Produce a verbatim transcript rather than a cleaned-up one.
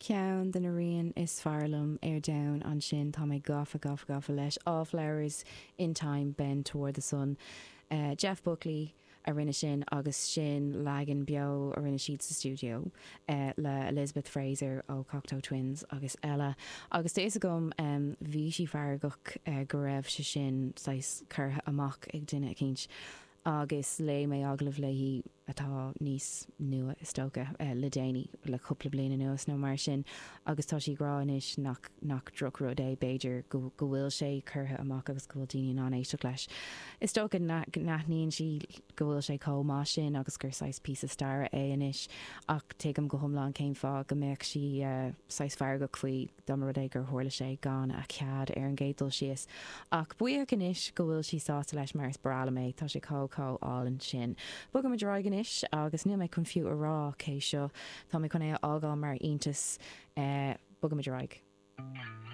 Ceann de na rian is fearr liom ar domhan ansin tá mé gafa gafa gafa leis All Flowers in Time Bend Toward the Sun. Uh, Jeff Buckley a rinne sin agus sin leagan beo a rinne siad sa studio uh, le Elizabeth Fraser ó Cocteau Twins agus eile. Agus tá fhios agam um, bhí sí feargach uh, go raibh sé sin saghas curtha amach ag duine eicínt. agus léigh mé agallamh léi atá níos nua is dócha uh, le déanaí le cúpla bliain anuas nó mar sin agus tá sí ag rá anois nach nach drochrud é b'fhéidir go go bhfuil sé curtha amach agus go bhfuil daoine in ann éisteacht leis. Is dócha n-aithníonn sí go bhfuil sé chomh maith sin agus gur saghas píosa staire é anois ach tuigim go hiomlán cén fáth go mbeadh sí uh, saghas feargach faoi dá mba rud é gur tharla sé gan a cead ar an gcéad dul síos. Ach buíoch anois go bhfuil sí sásta leis mar is breá liom é tá sé chomh chomh álainn sin. Bogaimid ar aghaidh anois agus níl mé chun fiú a rá cé seo Tá mé chun é a fhágáil mar iontas uh, bogaimid ar aghaidh.